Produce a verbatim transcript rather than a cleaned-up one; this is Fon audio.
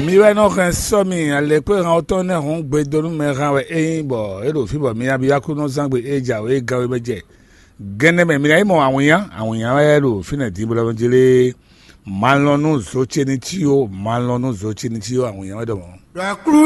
Mi wɛ nɔ hɛn sɔ́ mi alɛkpéhan ɔ́ tɔn nɛ́ hɔn gbedonu mɛ hán wɛ é nyí, bɔ é ɖo fí bɔ mi abiyákúnɔzángbe e jǎwe é gán wé mɛ jɛ. Gɛnɛ mɛ mi ná yi mɔ awǐnnya, awǐnnya wɛ ɖo fínɛ́ din blɔ́ jlé. Ma lɔn nú zo ce ní cí ó, ma lɔn nú zo ce ní cí ó, awǐnnya wɛ ɖɔ mɔ̌. Ɖɔ aklú